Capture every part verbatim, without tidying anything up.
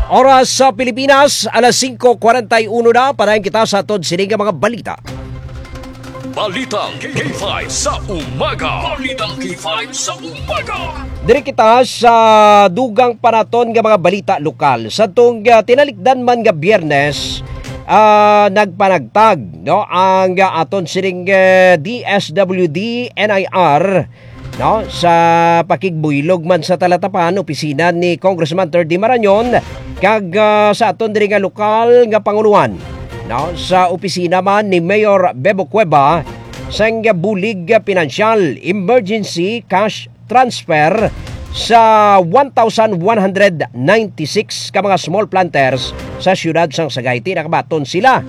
Oras sa Pilipinas, alas singko kwarenta y uno na. Padayon kita sa aton sini nga mga balita. Balitang K five sa umaga. Balitang K five sa umaga. Diri kita sa dugang pa naton nga mga balita lokal. Sa tong, ah, tinalikdan man nga Biyernes, ah, nagpanagtag, no, ang, ah, aton sining, eh, D S W D N I R, no, sa pakigbuylog man sa Talatapan, opisina ni Congressman Terdy Marañon, kag, ah, sa aton diri nga lokal nga pangulohan, no, sa opisina man ni Mayor Bebo Cueva, sang bulig pinansyal, emergency cash transfer sa one thousand one hundred ninety-six ka mga small planters sa siyudad sang Sagay. Ti nakabaton sila,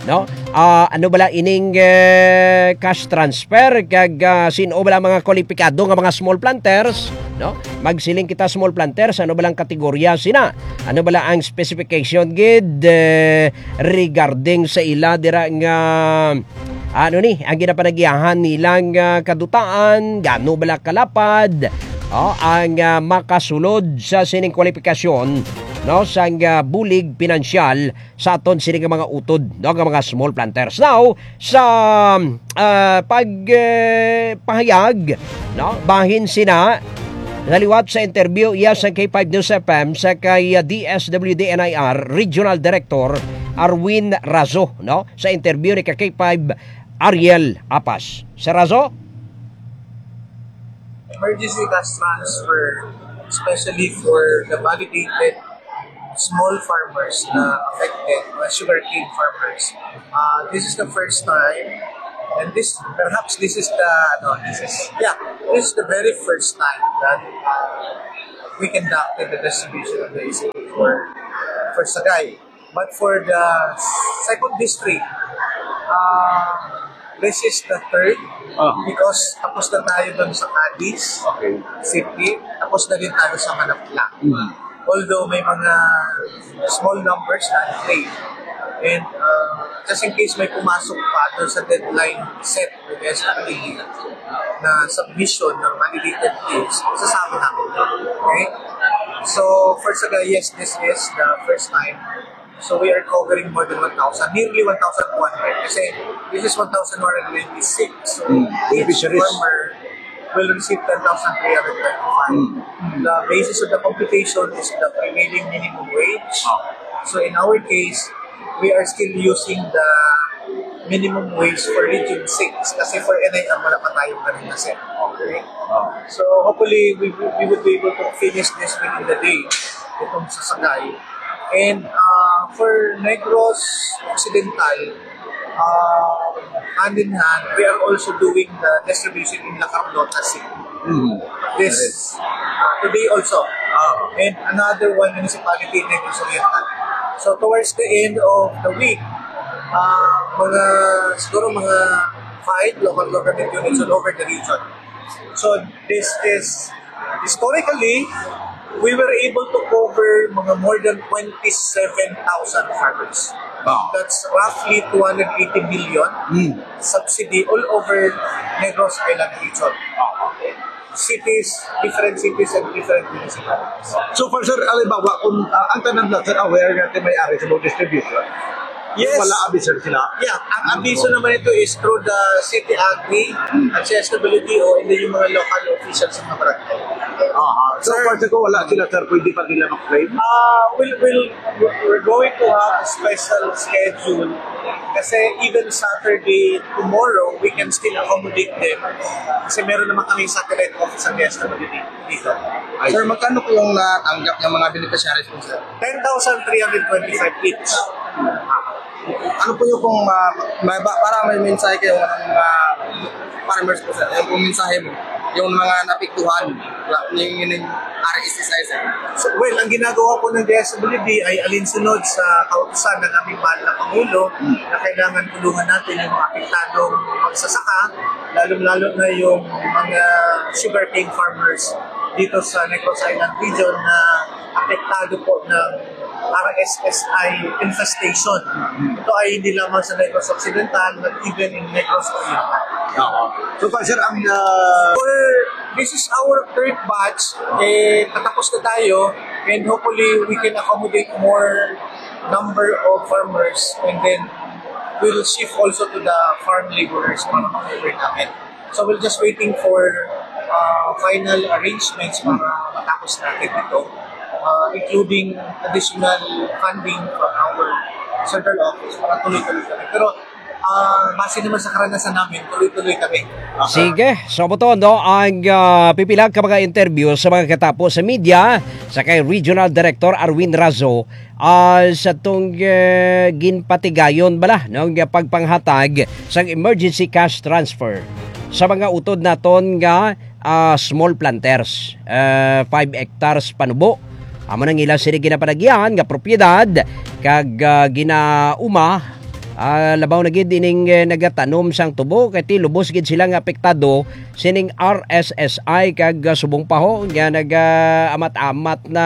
no? Ah, ano bala ining, eh, cash transfer, kag, ah, sin-o bala mga kwalipikado nga mga small planters, no? Magsiling kita small planters, ano bala ang kategorya sina? Ano bala ang specification gid, eh, regarding sa ila dira nga, ano ni, ang ginapanagyahan nilang, ah, kadutaan, gano bala kalapad, oh, ang, ah, makasulod sa sining kwalipikasyon, no, sang, ah, bulig pinansyal sa aton sini nga mga utod, no, nga mga small planters. Now, sa, ah, pag, eh, pahayag, no, bahin sina, naliwat sa interview iya sa K five News F M sa kay, ah, D S W D N I R Regional Director Arwin Razo, no, sa interview ni ka K five Ariel Apas. Sir Razo? Emergency cash transfer, especially for the validated small farmers na affected, mga sugarcane farmers. Uh, this is the first time, and this, perhaps this is the, no, this is, yeah, this is the very first time that, uh, we conducted the distribution of the S A P for, for Sagay. But for the second district, uh, this is the third. Ah. Because tapos na tayo doon sa Cadiz Okay. City, tapos na din tayo sa Manapla. Mm. Although may mga small numbers na in play. And, uh, just in case may pumasok pa doon sa deadline set with S R T na submission ng validated claims, sasabi namin. Okay? So, for Sagay, yes, this is the first time. So, we are covering more than one thousand, nearly one thousand two hundred. Kasi, this is one thousand one hundred twenty-six. So, Mm, each beneficiaries. farmer will receive ten thousand three hundred twenty-five. Mm. The basis of the computation is the prevailing minimum wage. So, in our case, we are still using the minimum wage for Region six kasi for N I R wala pa tayong ganun na set. Okay. Oh. So, hopefully, we, we would be able to finish this within the day, itong sa Sagay. And, uh, for Negros Occidental, uh, hand in hand, we are also doing the distribution in La Carlota City. Mm. This, uh, today also. Ah. And another one municipality in Negros Oriental. So towards the end of the week, uh, mga, siguro mga five local government units all over the region. So this is, historically, we were able to cover mga more than twenty-seven thousand farmers. Wow. That's roughly two hundred eighty million Mm. subsidy all over Negros Island region. Cities, different cities and different municipalities. So far, sir, halimbawa, kung, ah, ang tanan lang, sir, aware nga may ari sa mga distribution, Yes. wala abi, sir, sila? Yeah, ang abiso naman ito is through the city agri at sa S W D O and then yung mga local officials sa mga barangay. Aha. So Sir. far, sir, kung wala sila, sir, pwede pa nila mag-claim? Ah, we'll, we'll, we're going to have a special schedule kasi even Saturday tomorrow, we can still accommodate them kasi meron naman kami satellite office sa S W D dito. Ay. Sir, magkano po yung natanggap ng mga beneficiaries po, sir? Ten thousand three hundred twenty-five each. Ano po yung kung, ah, may ba, para may mensahe kayo ng mga farmers po, sir? Yung pong mensahe mo, yung mga napiktuhan, yung, yung R S S I, sir. So, well, ang ginagawa po ng D S W D ay alinsunod sa kautusan ng aming mahal na Pangulo Hmm. na kailangan tulungan natin yung mga apektadong magsasaka, lalong-lalo na yung mga sugarcane farmers dito sa Negros Island region na apektado po ng R S S I infestation. Ito ay hindi lamang sa Negros Occidental, but even in Negros Oriental. Oo. So, pa, sir, ang, ah, For, this is our third batch. Eh, patapos na tayo. And hopefully, we can accommodate more number of farmers, and then we'll shift also to the farm laborers para ma-cover namin. So we're just waiting for uh, final arrangements para matapos natin ito, uh, including additional funding from our central office para tuloy-tuloy kami. Pero uh, base naman sa karanasan namin, tuloy-tuloy kami. Sige, so mo to, no, ang ah, pipila ka mga interview sa mga katapo sa media sa kay Regional Director Arwin Razo, ah, sa tong ah, ginpatigayon bala, no, nga pagpanghatag sang emergency cash transfer sa mga utod naton nga ah, small planters, ah, five hectares panubo. Amo nang ila sini ginapanagyan nga propiedad kag ah, ginauma, ah, labaw na gid ining eh, nagatanom sang tubo kay ti lubos gid sila nga apektado sining R S S I kag ah, subong pa ho nga nagaamat-amat na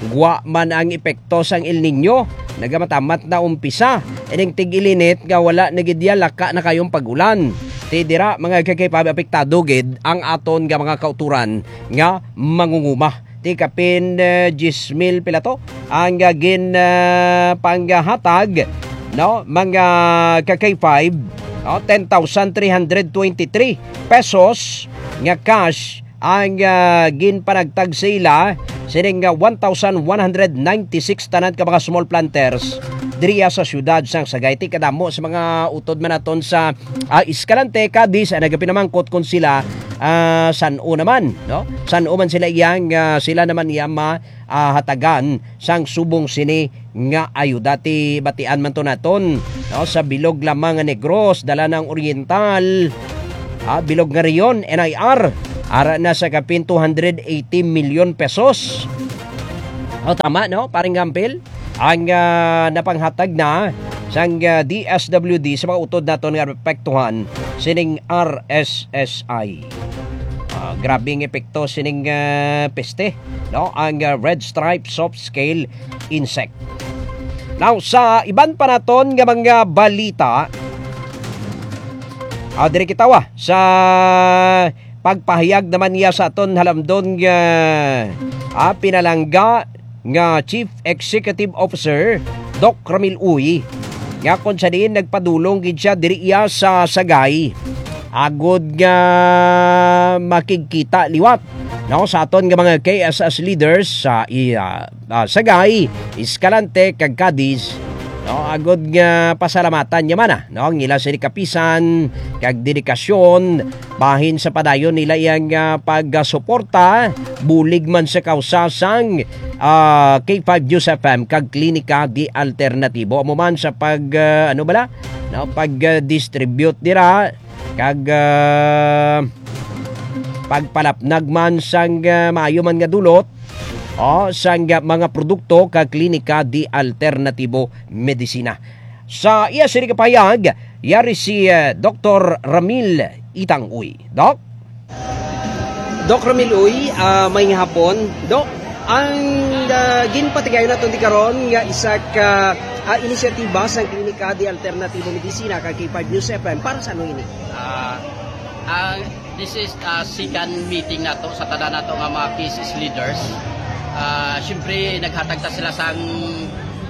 gwa man ang epekto sang El Nino. Nagamatammat na umpisa ining tig-ilinit nga wala na gid ya laka na kayong pag-ulan. Ti dira, mga kay apektado gid ang aton nga mga kauturan nga mangunguma. Ti kapin eh, diyes mil pila to ang ah, gin ah, panghatag, no, mga ka K five, no, ten thousand three hundred twenty-three pesos nga cash ang ah, ginpanagtag sa ila sining ah, one thousand one hundred ninety-six tanan ka mga small planters diriya sa siyudad sang Sagay. Ti kadamo sa mga utod man naton sa ah, Escalante, Cadiz, ang nagapinamangkot kung sila ah, san-o naman, no? San-o man sila iyang ah, sila naman iya ma ah, hatagan sang subong sini nga ayuda. Ti batian man to naton, no, sa bilog lamang nga Negros, Dalanang Oriental, ah, bilog nga Rion, N I R, ara na sa kapin two hundred eighty million pesos. O, tama, no, paring Gampil? Ang ah, napanghatag na sang ah, D S W D sa mga utod naton nga apektuhan sining R S S I. Ah, grabe ang epekto sining ah, peste, no? Ang ah, red stripe soft scale insect. Now, sa iban pa naton nga mga balita, ah, diri kita wa sa pagpahayag naman niya sa aton halamdon nga ah, pinalangga nga Chief Executive Officer, Doc Ramil Uy, nga kung sa diin nagpadulong gid siya diri iya sa Sagay agod nga makigkita liwat, no, sa aton nga mga K S S leaders sa iya ah, Sagay, Escalante, kag Cadiz, no, agod nga pasalamatan niya man, ah, no, ang ila sini kapisan kag dedikasyon bahin sa padayon nila iyang ah, pagsuporta bulig man sa kausa sang ah, K five News F M kag Klinika di Alternatibo, amo man sa pag ah, ano bala, no, pag ah, distribute dira kag ah, pagpalapnag man sang ah, maayo man nga dulot, o sang ah, mga produkto kag Klinika di Alternatibo Medisina. Sa iya sini kapahayag, yari si ah, Doktor Ramil Itang Uy. Doc? Doc Ramil Uy, ah, may hapon. Doc, ang ah, ginpatigayon naton di karon nga isa ka ah, inisyatiba sang Klinika di Alternatibo Medisina kag K five News F M, para sa ano ini? Ah, ang this is ah, second meeting nato sa tanan nato nga mga K S S leaders. Ah, siyempre, naghatag ta sila sang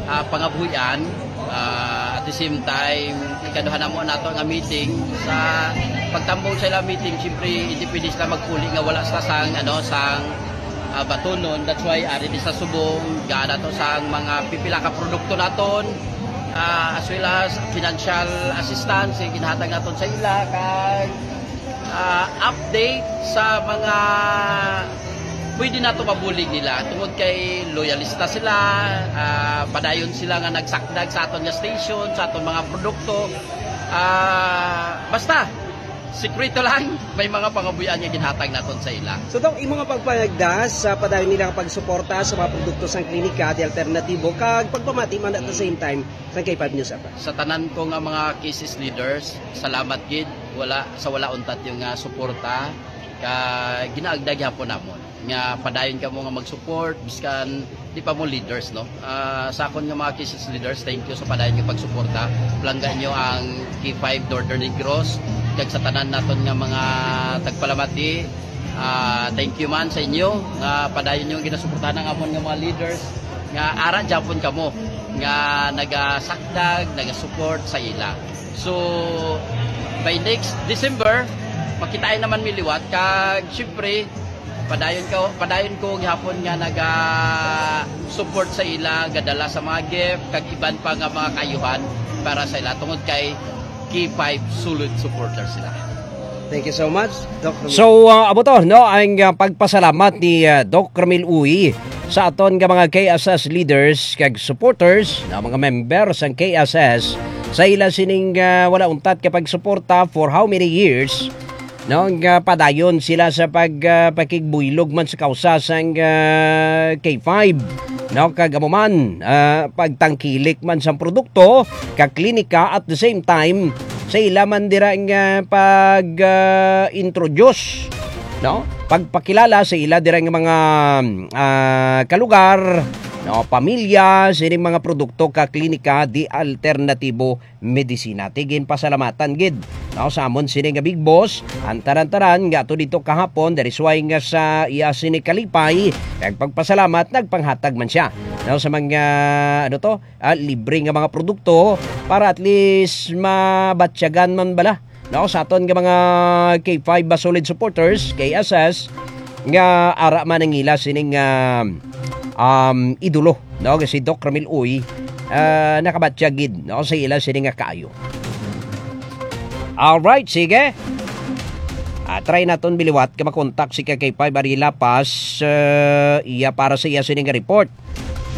ah, pangabuhian. Ah, at the same time, ikaduha na mo nato nga meeting. Sa pagtambong sa ilang meeting, siyempre, hindi pwede sila magpuli nga wala sila sang, ano, sang ah, batunon. That's why, ari di sa subong, gaan nato sang mga pipila ka produkto naton, ah, as well as financial assistance, yung ginahatag naton sa ila, kag ah, update sa mga pwede nato mabulig nila tungod kay loyalista sila, ah, padayon sila nga nagsakdag sa aton nga station, sa aton mga produkto. Ah, basta, sikreto lang, may mga pangabuhian nga ginhatag naton sa ila. So, Doc, imo nga pagpanagda sa padayon nila nga pagsuporta sa mga produkto sang klinika di alternatibo kag pagpamati man at the same time sa K five News App. Sa tanan ko nga mga K S S leaders, salamat gid, wala sa wala untat yung nga suporta ka ginaagda gyapon namon nga padayon kamo nga mag-support biskan di pa mo leaders, no? Ah, sa akon nga mga K S S leaders, thank you sa padayon nga pagsuporta. Palangga nyo ang K five Northern Negros kag sa tanan naton nga mga tagpalamati. Ah, thank you man sa inyo nga padayon niyo ginasuportahan ang amon nga mga leaders nga ara gyapon kamo nga nagasakdag, nagasupport sa ila. So, by next December, makitaan naman mi liwat. Kag syempre, padayon ko, padayon ko gihapon nga naga support sa ila, gadala sa mga gift kag iban pa nga mga kaayuhan para sa ila, tungod kay K five solid supporter sila. Thank you so much, Doc Romel. So, ah, amo to, no, ang, ah, pagpasalamat ni, ah, Doc Ramil Uy sa aton nga mga K S S leaders kag supporters, na mga member sang K S S, sa ila sining, ah, wala untat ka pagsuporta for how many years, no, nga padayon sila sa pag, ah, pakigbuylog man sa kausa sang, ah, K five, no, kag amo man, ah, pagtangkilik man sang produkto ka klinika, at the same time sa ila man dira nga pag, ah, introduce, no, pagpakilala sa ila dira nga mga, ah, kalugar, no, pamilya, sining mga produkto ka klinika di alternatibo medisina. Ti ginpasalamatan gid, no, sa amon sini nga big boss ang tanan-tanan nga ato dito kahapon, diri suway nga sa iya sini kalipay, kag pagpasalamat nagpanghatag man siya, no, sa mga, ano to, ah, libre nga mga produkto para at least mabatyagan man bala, no, sa aton nga mga K five ba solid supporters, K S S, nga ara man ang ila sining, ah, um, idolo, no, si Doc Ramil Uy, ah, nakabatyag gid, no, sa ila sini nga kaayo. Alright, sige. Ah, try naton biliwat ka makontak si K K five Ariel Lapas, ah, iya para sa iya sini nga report,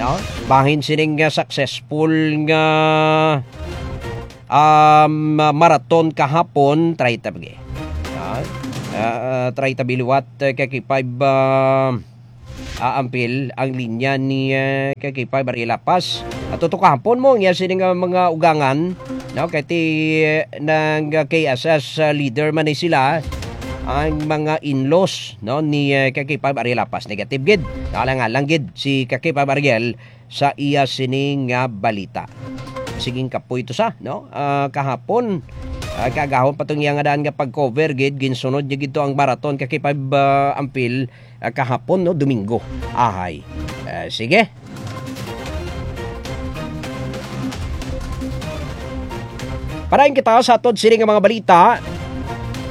no? Bahin sining, ah, successful nga, um, marathon kahapon, try ta bagi. Ah, ah, try ta biliwat, ah, K K five, ah, aampil ang linya ni, ah, K K five Ariel Lapas. At tuto kahapon mo niya sini nga mga ugangan, no? Kay ti, nang K S S, ah, leader man ni sila, ang mga in-laws, no, ni, ah, K K five Ariel Lapas. Negative gid. Nakalangalang gid si K K five Ariel sa iya sini nga balita. Siging kapoy to sa, no? Ah, kahapon, ah, kagahon pa tong iya nga daan nga pag-cover gid, ginsunod niya gid to ang marathon K K five, ah, ampil, ah, kahapon, no, Domingo. Ahay. Ah, sige. Parain kita sa atod sini nga mga balita.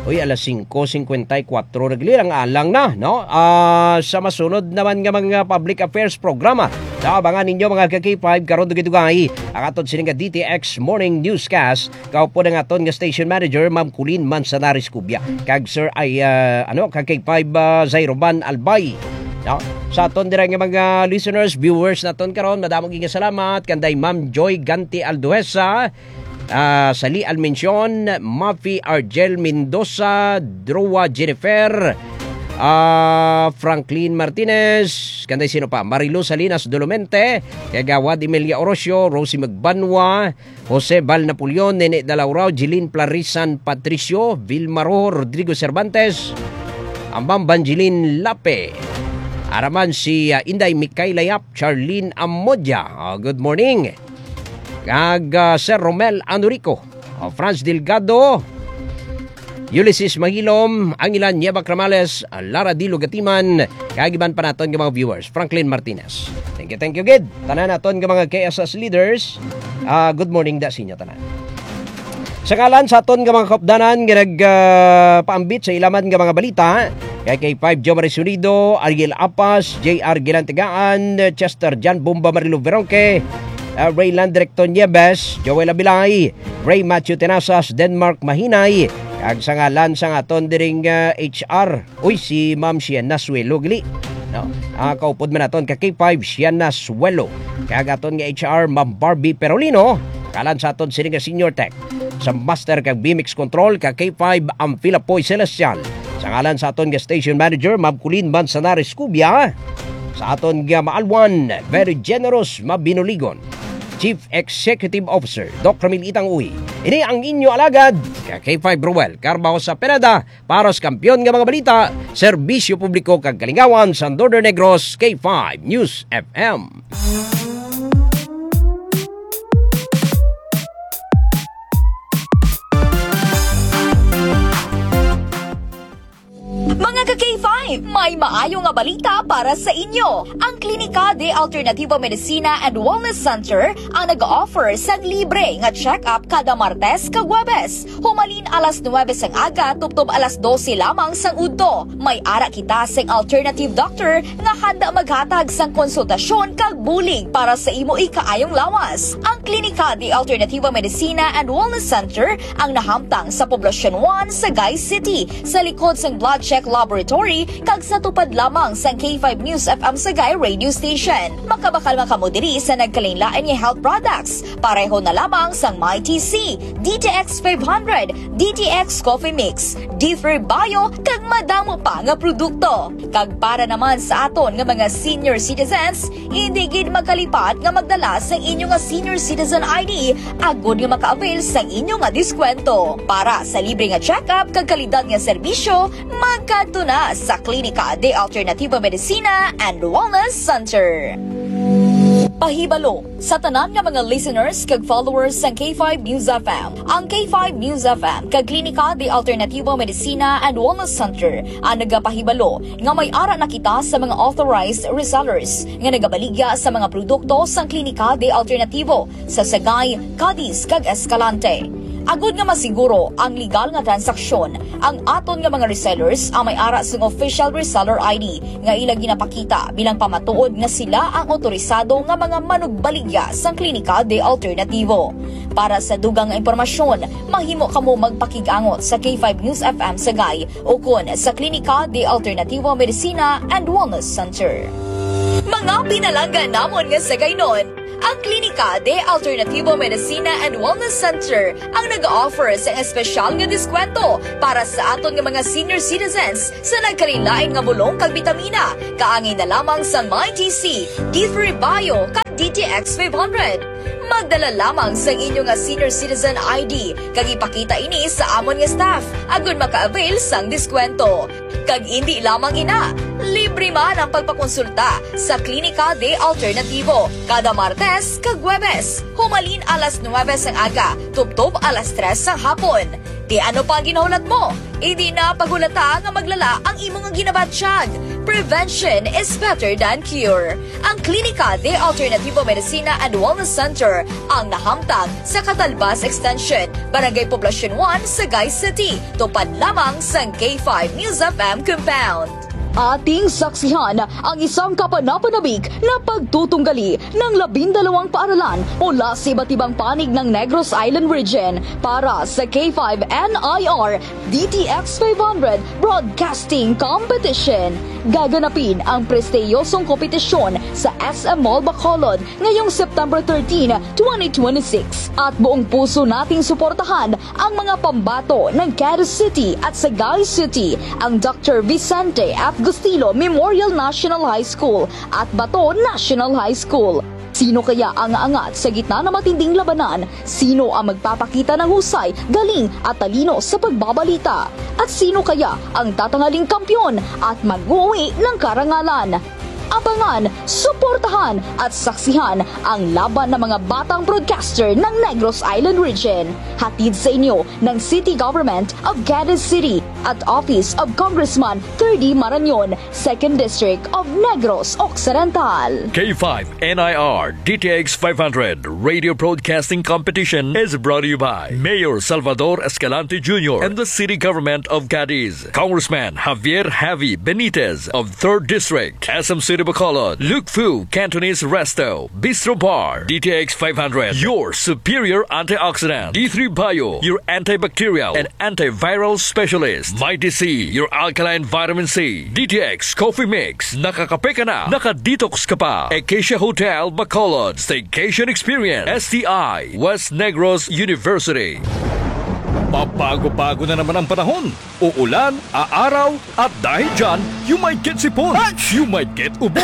Uy, alas singko singkwenta y kuwatro na gali, alang-alang na, no? Ah, sa masunod naman nga mga public affairs programa, naabangan ninyo mga ka K five karon dugay-dugay ang atod sini nga D T X Morning Newscast. Kaupod ang aton nga station manager, Ma'am Colleen Manzanares Cubia, kag Sir ay, ah, ano, ka K five, ah, Zairoban Albay. No? Sa aton dira nga mga listeners, viewers naton karon, madamo gyud nga salamat kanday Ma'am Joy Ganti Alduesa, ah, Sali Almencion, Mafi Argel Mendoza, Drua Jennifer, ah, Franklin Martinez, kanday sino pa? Marilu Salinas Dolomente, Kagawad Emilia Orocio, Rosie Magbanwa, Jose Val Napoleon, Nene Dalaurao, Jeline Plarisan Patricio, Vilma Rojo, Rodrigo Cervantes, Ambang Banjilin Lape. Araman si, ah, Inday Mikayla Yap, Charlene Amodia. Ah, good morning. Kag, ah, Sir Romel Anurico, ah, Franz Delgado, Ulysses Mahilom, Angilan Nieva Cramales, Lara Dilo Gatiman, kag iban pa naton nga mga viewers, Franklin Martinez. Thank you, thank you gid. Tanan naton nga mga K S S leaders, ah, good morning da sa inyo tanan. Sa ngalan sa aton nga mga kaupdanan nga nag, ah, paambit sa ilaman nga mga balita, kay K five Jomar Sonido, Ariel Apas, J R Gilantegaan, Chester Jan Bomba Marilo Veronque, ah, Rayland Recto Nieves, Joel Abilay, Ray Matthew Tenasas, Denmark Mahinay, kag sa ngalan sang aton diring, ah, H R, uy, si Ma'am Sienna Suelo gali, no? Ah, kaupod man naton ka K five, Sienna Suelo, kag aton nga H R, Ma'am Barbie Perolino, kalan sa aton sini nga Senior Tech, sa Master kag B M X Control ka K five, ang Filapoy Celestial, sa ngalan sa aton nga Station Manager, Ma'am Colleen Manzanares Cubia, sa aton nga maalwan, very generous, mabinuligon, Chief Executive Officer, Doc Ramil Itang Uy. Ini ang inyo alagad, ka K five Roel Carbajo sa Pineda, para sa kampiyon nga mga balita, serbisyo publiko kag kalingawan sa Northern Negros, K five News F M. Mga ka K five, May maayo nga balita para sa inyo. Ang Klinika de Alternativo Medicina and Wellness Center ang nag-offer sang libre nga check-up kada Martes kag Huwebes, humalin alas nuwebe sang aga tubtob alas dose lamang sang udto. May ara kita sing alternative doctor nga handa maghatag sang konsultasyon kag bulig para sa imo ikaayong lawas. Ang Klinika de Alternativo Medicina and Wellness Center ang nahamtang sa Poblacion one, Sagay City, sa likod sang Blood Check Laboratory kag sa tupad lamang sang K five News F M Sagay Radio Station. Makabakal man kamo diri sa nagkalainlain nga health products, pareho na lamang sang Mighty C, D T X five hundred, D T X Coffee Mix, D three Bio, kag madamo pa nga produkto. Kag para naman sa aton nga mga senior citizens, hindi gid magkalipat nga magdala sang inyo nga senior citizen I D agod nga maka-avail sang inyo nga diskwento. Para sa libre nga check-up kag kalidad nga serbisyo, magkadto na sa Klinika de Alternativo Medicina and Wellness Center. Pahibalo sa tanan nga mga listeners kag followers sang K five News F M. Ang K five News F M kag Klinika de Alternativo Medicina and Wellness Center ang nagapahibalo nga may ara na kita sa mga authorized resellers nga nagabaligya sa mga produkto sang Klinika de Alternativo sa Sagay, Cadiz, kag Escalante. Agud nga masiguro ang legal nga transaksyon, ang aton nga mga resellers ang may ara sang official reseller I D nga ila ginapakita bilang pamatuod nga sila ang otorisado nga mga manugbaligya sang Klinika de Alternativo. Para sa dugang nga impormasyon, mahimo kamo magpakig-angot sa K five News F M Sagay ukon sa Klinika de Alternativo Medicina and Wellness Center. Mga pinalangga namon nga Sagaynon, ang Klinika de Alternativo Medicina and Wellness Center ang nag-offer sang espesyal nga diskwento para sa aton nga mga senior citizens sa nagkalainlain nga bulong kag bitamina, kaangay na lamang sang Mighty C, D three Bio, kag D T X five hundred. Magdala lamang sang inyo nga senior citizen I D kag ipakita ini sa amon nga staff agud maka-avail sang diskwento. Kag indi lamang ina, libre man ang pagpakonsulta sa Klinika de Alternativo kada Martes kag Huwebes, humalin alas nuwebe sang aga tubtob alas tres sang hapon. Ti ano pa ang ginahulat mo? Indi na paghulata nga maglala ang imo nga ginabatyag. Prevention is better than cure. Ang Klinika de Alternativo Medicina and Wellness Center ang nahamtang sa Catalbas Extension, Barangay Poblacion one, Sagay City, tupad lamang sang K five News F M compound. Ating saksihan ang isang kapanapanabik na pagtutunggali ng labindalawang paaralan mula sa iba't ibang panig ng Negros Island Region para sa K five N I R D T X five hundred Broadcasting Competition. Gaganapin ang prestiyosong kompetisyon sa S M Mall Bacolod ngayong September thirteen, twenty twenty-six. At buong puso nating suportahan ang mga pambato ng Cadiz City at Sagay City, ang Doctor Vicente F. Gustilo Memorial National High School at Bato National High School. Sino kaya ang aangat sa gitna ng matinding labanan? Sino ang magpapakita ng husay, galing at talino sa pagbabalita? At sino kaya ang tatangaling kampiyon at mag-uwi ng karangalan? Abangan, suportahan at saksihan ang laban ng mga batang broadcaster ng Negros Island Region. Hatid sa inyo ng City Government of Cadiz City at Office of Congressman Thirdy Marañon, Second District of Negros Occidental. K five N I R D T X five hundred Radio Broadcasting Competition is brought to you by Mayor Salvador Escalante Junior and the City Government of Cadiz, Congressman Javier Javi Benitez of Third District, S M City Bacolod, Lukfu Cantonese Resto, Bistro Bar, D T X five hundred, your superior antioxidant, D three Bio, your antibacterial and antiviral specialist, Mighty C, your alkaline vitamin C, D T X Coffee Mix, nakakape ka na, nakadetox ka pa, Acacia Hotel, Bacolod, Staycation Experience, S T I, West Negros University. Pabago-bago na naman ang panahon. Uulan, aaraw, at dahil dyan, you might get sipon, you might get ubo,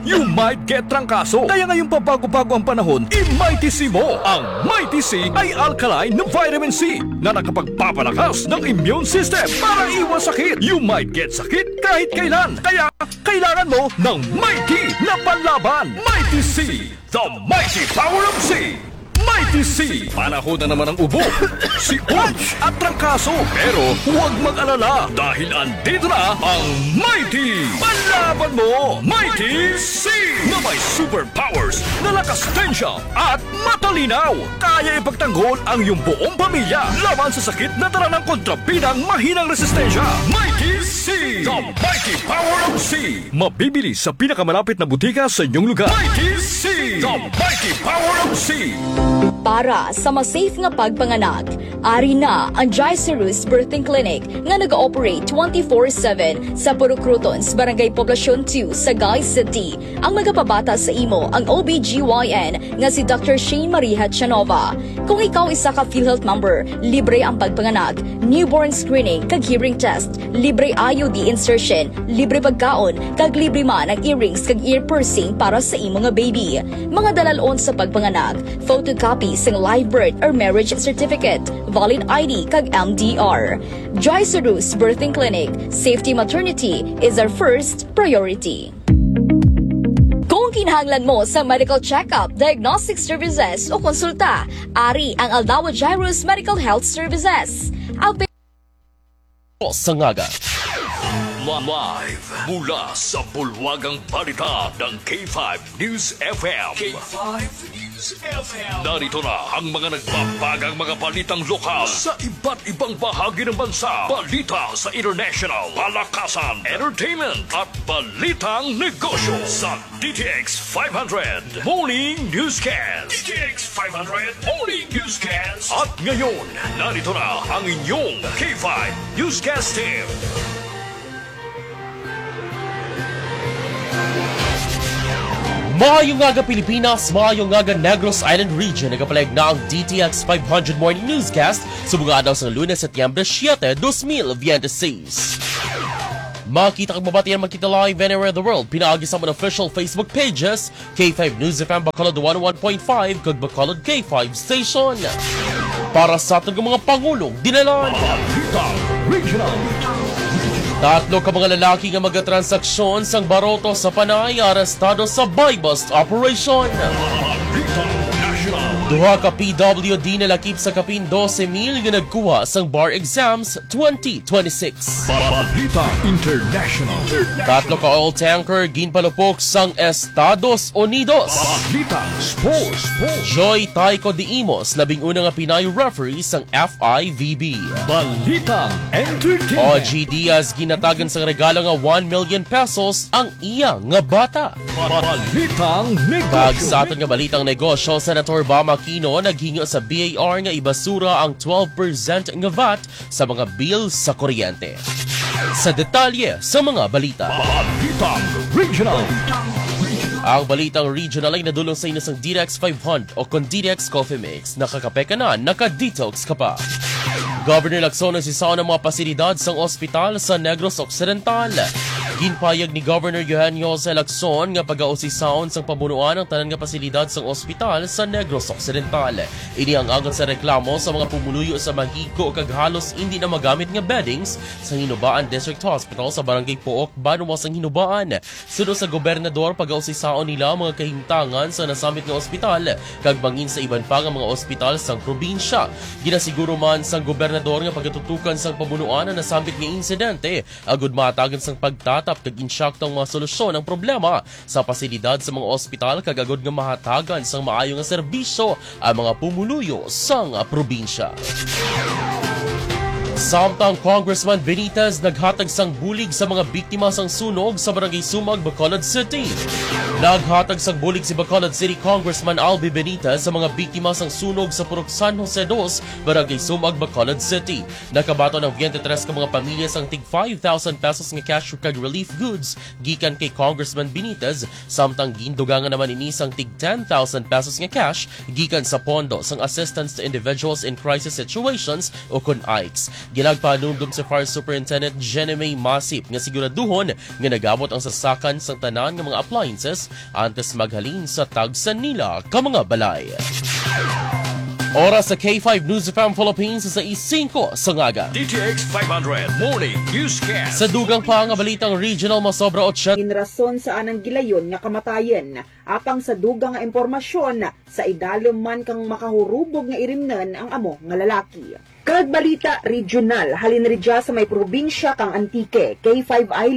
you might get trangkaso. Kaya ngayong pabago-bago ang panahon, i-Mighty C mo. Ang Mighty C ay alkaline na vitamin C na nakapagpapalakas ng immune system para iwas sakit. You might get sakit kahit kailan. Kaya kailangan mo ng Mighty na panlaban. Mighty C, the mighty power of C. Mighty C, panahon na naman ang ubo, si Urge at trangkaso. Pero huwag mag-alala dahil andito na ang Mighty. Panlaban mo, Mighty C, na may superpowers na lakas, tensya at matalinaw. Kaya ipagtanggol ang iyong buong pamilya laban sa sakit na dala ng kontrabidang mahinang resistensya. Mighty C, the mighty power of C. Mabibili sa pinakamalapit na butika sa inyong lugar. Mighty C, the mighty power of C. Para sa mas safe nga pagpanganak, ari na ang Gicerus Birthing Clinic nga nag-ooperate twenty-four seven sa Purok Crotons, Barangay Poblacion two, Sagay City. Ang magapabata sa imo ang O B G Y N nga si Doctor Shane Marie Hachanova. Kung ikaw isa ka PhilHealth member, libre ang pagpanganak, newborn screening kag hearing test, libre I U D insertion, libre pagkaon, kag libre man ang earrings kag ear piercing para sa imo nga baby. Mga dalalon sa pagpanganak, photocopy sang live birth or marriage certificate, valid I D kag M D R. Joy Sarus Birthing Clinic, safety maternity is our first priority. Kung kinahanglan mo sa medical check-up, diagnostic services o konsulta, ari ang Aldawa Jairus Medical Health Services. Avail- Sa ngaga. Live mula sa bulwagang balita ng K five News F M. K five News F M. Narito na ang mga nagbabagang mga balitang lokal sa iba't ibang bahagi ng bansa. Balita sa international, palakasan, entertainment, at balitang negosyo sa D T X five hundred Morning Newscast. D T X five hundred Morning Newscast. At ngayon, narito na ang inyong K five Newscast Team. Maayong aga, Pilipinas, maayong aga, Negros Island Region. Nagapalayag na ang D T X five hundred Morning Newscast sa mga adlaw sang Lunes, Setyembre siete, dos mil veintiséis. Makita kag mabatian, makita live anywhere in the world pinaagi sa mga official Facebook pages, K five News F M Bacolod one oh one point five kag Bacolod K five Station. Para sa aton nga mga pangulong dinalan. Balitang Regional. Tatlo ka mga lalaki nga magatransaksyon sang baroto sa Panay arestado sa buy-bust operation. Balitang National. Duha ka P W D nalakip sa kapin dose mil nga nagkuha sang bar exams twenty twenty-six. Balitang International. Tatlo ka oil tanker ginpalupok sang Estados Unidos. Balitang Sports. Joy Tyco de Imos, labing una nga Pinay referee sang F I V B. Balitang Entertainment. O G Diaz ginatagan sang regalo nga one million pesos ang iya nga bata. Balitang Negosyo. Kag sa aton nga balitang negosyo, Senator Bam Aquino naghinyo sa B I R nga ibasura ang twelve percent nga vat sa mga bill sa kuryente. Sa detalye sa mga balita. Balitang Regional. Ang balitang regional ay nadulong sa inyo sang Direx five hundred o kon Direx Coffee Mix. Nakakape ka na, naka-detox ka pa. Governor Lacson nagsisaon ang mga pasilidad sang ospital sa Negros Occidental. Ginpahayag ni Governor Eugenio Jose Lacson nga pagausisaon sang pamunuan ang tanan nga pasilidad sang ospital sa Negros Occidental. Ini ang agod sa reklamo sa mga pumuluyo sa mahigko kag halos indi na magamit nga beddings sa Hinubaan District Hospital sa Barangay Pook, Banwa sang Hinubaan. Suno sa gobernador, pagausisaon nila ang mga kahimtangan sa nasambit nga ospital kag bangin sa iban pa nga mga ospital sang probinsya. Ginasiguro man sang gobernador nga pagatutukan sang pamunuan ang nasambit nga insidente agud mahatagan sang pagtatap kag insakto nga mga solusyon ang problema sa pasilidad sa mga ospital kag agud nga mahatagan sang maayo nga serbisyo ang mga pumuluyo sang probinsya. Samtang Congressman Benitez naghatag sang bulig sa mga biktima sang sunog sa Barangay Sumag, Bacolod City. Naghatag sang bulig si Bacolod City Congressman Albi Benitez sa mga biktima sang sunog sa Purok San Jose dos, Barangay Sumag, Bacolod City. Nakabaton ang twenty-three ka mga pamilya sang tig five thousand pesos nga cash kag relief goods gikan kay Congressman Benitez, samtang gindugangan naman ini sang tig ten thousand pesos nga cash gikan sa pondo sang Assistance to Individuals in Crisis Situations o kon aics. Ginagpahanumdom si Fire Superintendent Jenny May Masip nga siguraduhon nga nag-abot ang sasakan sang tanan nga mga appliances antes maghalin sa tagsa nila ka mga balay. Oras sa K five News F M Philippines sa sais singko sa ngaga. D T X five hundred Morning Newscast. Sa dugang pa nga balitang regional, masobra otsenta Ginrason sa anang gilayon nga kamatayon, apang sa dugang nga impormasyon, sa idalom man kang makahurubog nga irimnon ang amo nga lalaki. Kag balita regional, halin ridya sa may probinsya kang Antique, K five Eyelid